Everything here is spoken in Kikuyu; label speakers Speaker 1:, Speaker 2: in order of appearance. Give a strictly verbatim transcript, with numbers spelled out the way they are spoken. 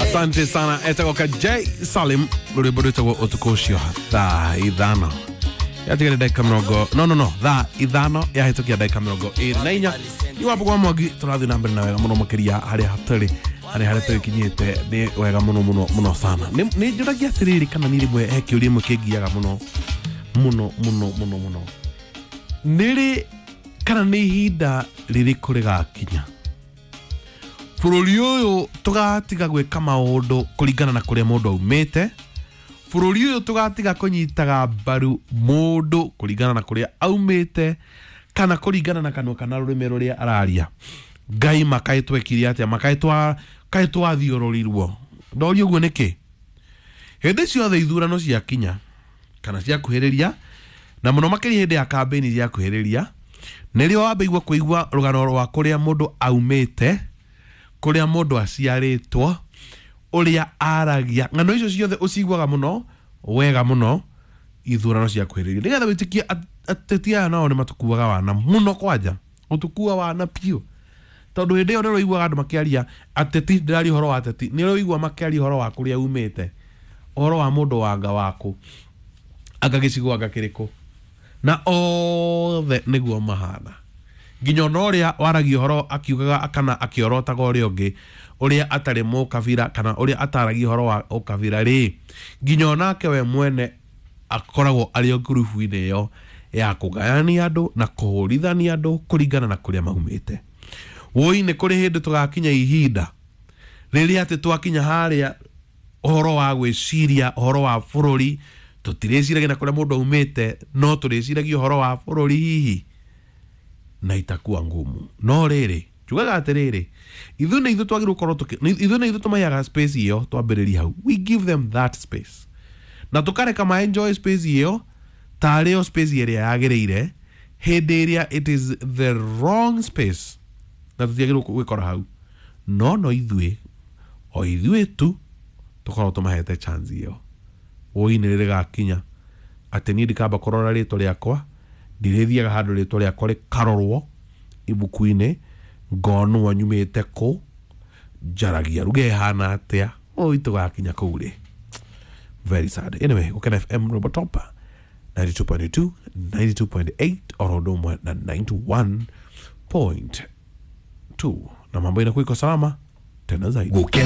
Speaker 1: Asante sana, etagwo ka J Salim, rwĩmbo rwĩtagwo Ũtukũ Ũcio. Thaa ithano yatigire ndagĩka mĩrongo, no no no thaa ithano yahĩtũkia ndagĩka mĩrongo ĩrĩ na inya. Iwapo kwa Mwangi tũrathiĩ na mbere na wega mũno makĩria harĩa tũrĩ, harĩa harĩa tũgĩkinyĩte nĩ wega mũno mũno mũno sana. nĩ nĩ njũragia atĩrĩrĩ, kana nĩ rĩmwe he kĩũria ĩmwe kĩngiaga mũno mũno mũno mũno mũno, nĩ rĩ kana nĩ ihinda rĩrĩkũ rĩgakinya bũrũri ũyũ tũgatiga gwĩka maũndũ kũringana na kũrĩa mũndũ aumĩte, bũrũri ũyũ tũgatiga kũnyitaga mbaru mũndũ kũringana na kũrĩa aumĩte kana kũringana na kanua kana rũrĩmĩ rũrĩa araria? Ngai, makaĩ twekire atĩa? Makaĩ twa kaĩ twathiũrũrirwo? Ndoria ũguo nĩkĩ? Hĩndĩ ciothe ithurano ciakinya kana ciakuhĩrĩria, na mũno makĩria hĩndĩ ya kambĩini ciakuhĩrĩria, nĩrĩo wambaigua kũigua rũgano rwa kũrĩa mũndũ aumĩte, kũrĩa mũndũ aciarĩtwo, ũrĩa aragia. Ng'ano icio ciothe ũciguaga mũno wega mũno ithurano ciakuhĩrĩria, nĩgetha wĩtĩkie at- ateti aya nao nĩ matũkuaga wana mũno, kwanja gũtũkua wana biũ, tondũ hĩndĩ ĩyo nĩ ũraiguaga andũ makĩaria. Ateti, ndĩraria ũhoro wa ateti, nĩ ũraigua makĩaria ũhoro wa kũrĩa umĩte, ũhoro wa mũndũ wanga waku, anga gĩcigo, anga kĩrĩkũ, na othe nĩguo mahana, nginya ona ũrĩa waragia ũhoro akiugaga kana akĩorotaga ũrĩa ũngĩ, ũrĩa atarĩ mũkabira kana ũrĩa ataragia ũhoro wa ũkabira rĩ, nginya onake we mwene akoragwo arĩ o ngurubu-inĩ ĩyo ya kũgayania andũ na kũhũrithania andũ kũringana na kũrĩa maumĩte. Woi, nĩ kũrĩ hĩndĩ tũgakinya ihinda rĩrĩa atĩ twakinya harĩa ũhoro wa gwĩciria ũhoro wa bũrũri tũtirĩciragia na kũrĩa mũndũ aumĩte, no tũrĩciragia ũhoro wa bũrũri hihi, na itakuwa ngumu. No rĩrĩ, njugaga atĩrĩrĩ, ithuĩ nĩ ithuĩ twagĩrĩirwo gũkorwo tũkĩ nĩ- ithuĩ nĩ ithuĩ tũmaheaga space ĩyo. Twambĩrĩria hau, we give them that space na tũkareka ma enjoy space ĩyo tarĩ yo space ĩrĩa yagĩrĩire, hĩndĩ ĩrĩa it is the wrong space na tũtiagĩrĩirwo gwĩkora hau. No no ithuĩ, o ithuĩ tu tũkorwo tũmahete chance ĩyo. Woi, nĩ rĩgakinya atĩ niĩ ndikamba kũrora rĩtwa rĩakwa, ndirĩthiaga handũ rĩtwa rĩakwa rĩkarorwo ibuku-inĩ, ngonwo nyumĩte kũ, njaragia ruga ĩhana atĩa. Oi, tũgakinya kũu rĩ? Very sad. Anyway, Gũkena F M, Robo Top ninety-two point two, ninety-two point eight, oro ũndũ ũmwe na ninety-one point two, na mambo inakuwa iko salama tena zaidi.
Speaker 2: Gukena.